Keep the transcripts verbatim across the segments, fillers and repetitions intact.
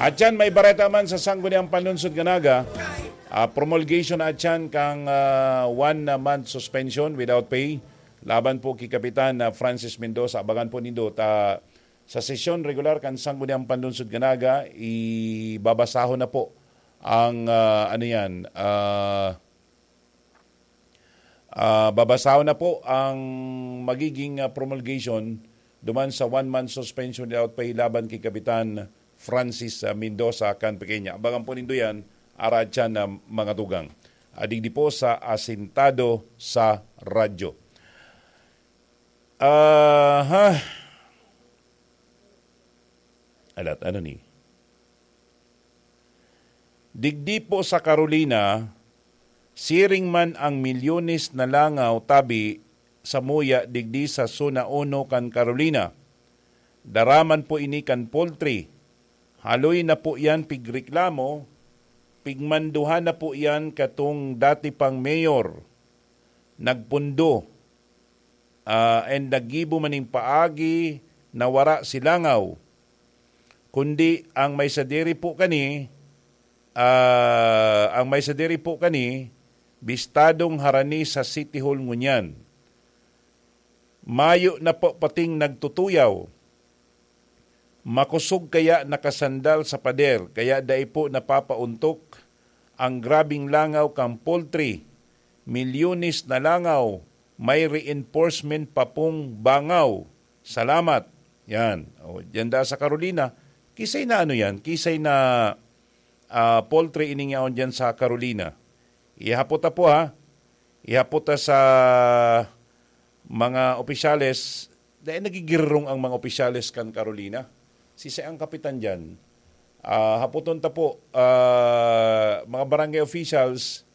Atyan, may bareta man sa Sangguniang Panlunsod kan Naga. Ah, promulgation na atyan kan, ah, one month suspension without pay laban po ki Kapitan na Francis Mendoza. Abangan po nindo ta sa sesyon regular kan Sangguniang Panlunsod kan Naga, ibabasahon na po ang, ah, ano yan, ah, ah, babasahon na po ang magiging, ah, promulgation duman sa one month suspension without pay laban ki Kapitan Francis, ah, Mendoza kan Pequeña. Abangan po nindo yan, aratyan na mga tugang. Ah, digdi po sa Asintado sa Radyo. Aha. Alat, ano ni? Digdi po sa Carolina, siring man ang milyones na langaw tabi sa muya digdi sa Zona Uno kan Carolina. Daraman po ini kan poultry. Haloy na po yan pigreklamo, pigmanduhan na po yan katong dati pang mayor. Nagpundo, ah, and naggibo maning paagi na wara si langaw. Kundi ang may sadiri po kani, ah, ang may sadiri po kani, bistadong harani sa City Hall ngunyan. Mayo na po pating nagtutuyaw. Makosog kaya nakasandal sa pader, kaya dai po napapauntok ang grabing langaw kan poultry. Milyones na langaw, may reinforcement pa pong bangaw. Salamat. Yan. O, diyan da sa Carolina. Kisay na ano yan? Kisay na, ah, poultry ining yaon diyan sa Carolina. Ihapot ta po, ha? Ihapot ta sa mga opisyales. Dahil nagigirong ang mga opisyales kan Carolina. Sisay ang kapitan diyan? Ah, hapoton ta po, ah, mga barangay officials,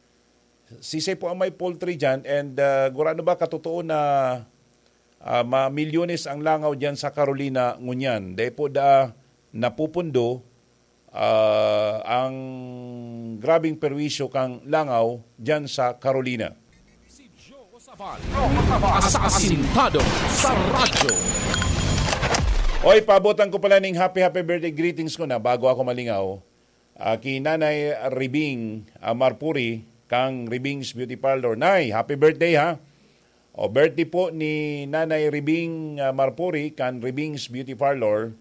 sisay po ang may poultry diyan, and, ah, gurano ba katotoo na, ah, ma-, milyones ang langaw diyan sa Carolina ngunyan? Dai po da napupundo, ah, ang grabing perwisyo kan langaw diyan sa Carolina. Si Joe Sabal, sa Asintado sa Radyo. Oy, paabotan ko pala ning happy, happy birthday greetings ko na bago ako malingaw. Ah, ki Nanay Ribing, ah, Marpuri, kang Ribing's Beauty Parlor. Nay, happy birthday, ha? O, birthday po ni Nanay Ribing, ah, Marpuri, kan Ribing's Beauty Parlor.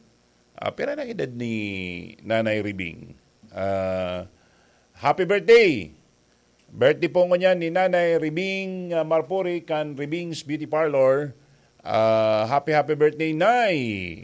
Ah, pira na edad ni Nanay Ribing? Ah, happy birthday! Birthday po ngunyan ni Nanay Ribing, ah, Marpuri, kan Ribing's Beauty Parlor. Ah, happy, happy birthday, Nay!